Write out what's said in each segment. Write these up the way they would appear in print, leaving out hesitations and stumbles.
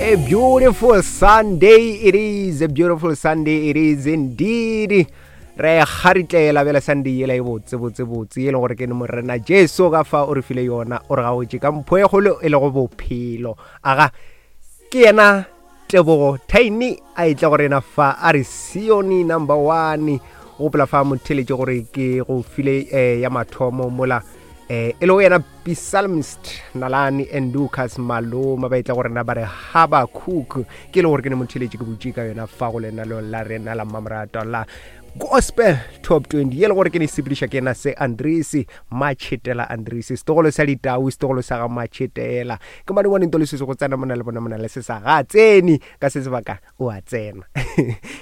A beautiful Sunday it is, a beautiful Sunday it is indeed. Re kgaritlela bjale Sunday yela e botse botse botse e le gore ke ne Morena Jesu ka fa o re file yona, o re gaotše ka mpho e kgolo e lego bophelo. Aga ke yena Tebogo Tiny a etla go rena fa a re Sione number one. Gopola fa motheletše gore ke go file eh, ya mathomo mola eh, e lego yena Psalmist Nalani and Lucas Maloma ba etla go rena ba re Habakuk, ke e le gore ke ne motheletše ke butše ka yona fa go lenalo la rena la mmamoratwa la Gospel Top 20 ye le gore ke ne sepediša ke yena se Andrisi Matšhetela Andrisi, setogolo sa ditau, setogolo sa ga Matšhetela. Ke mane ngwane ntolo se go tsena mona le bona mona le se sa ga tsene ka se sebaka o a tsena.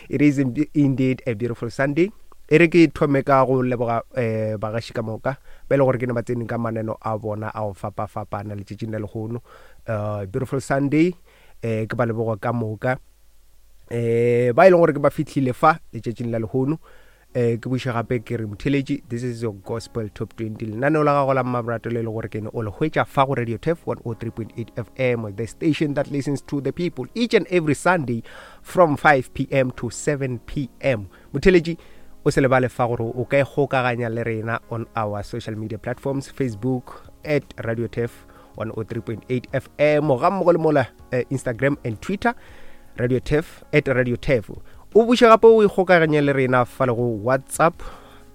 It is indeed a beautiful Sunday. E re ke thome ka go leboga eh, bagaši ka moka ba e le gore ke ne ba tsene ka maneno a bona a go fapafapana letšatšing la lehono. Beautiful Sunday, eh, ke ba leboga ka moka eh, ba e leng gore ke ba fihlile fa letšatšing la lehono. Eh, ke buše gape ke re motheletši, this is your Gospel Top 20, lenaneo la gago la mmaborato le le gore ke ne o le hwetša fa go Radio Turf 103.8 FM, the station that listens to the people each and every Sunday from 5 pm to 7 pm. Motheletši, o se lebale fa gore o ka ikgokaganya le rena on our social media platforms, Facebook at Radio Turf 103.8 FM, ga mmogo le mola Instagram and Twitter, Radio Turf at Radio Turf. O buše gape o ikgokaganye le rena fa le go WhatsApp.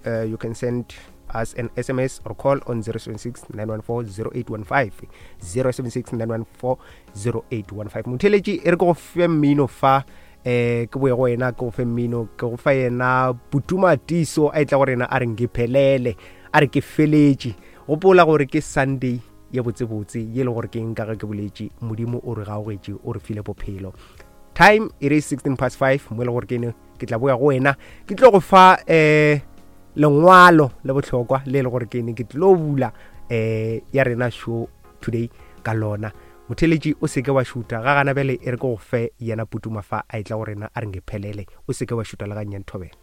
You can send us an SMS or call on 076 914 0815, 076 914 0815. Motheletši, e re ke go fe mmino fa, ke boye go wena, ke go fe mmino, ke go fa yena Putuma Tiso a etla go rena a re ngiphelele, a re ke feletše. Gopola gore ke Sunday ye botsebotse ye le gore ke nka ge ke boletše, Modimo o re gaogetše, o re file bophelo. Time it is 16 past 5 mo e le gore ke ne ke tla boya go wena, ke tlo go fa lengwalo le bohlokwa le le gore ke ne ke tlo bula ya rena show today ka lona. Motheletši, o seke wa šuta ga gana bjale, e re ke go fe yena Putuma fa a etla go rena a re ngephelele, o seke wa šuta le gannyane, thobela.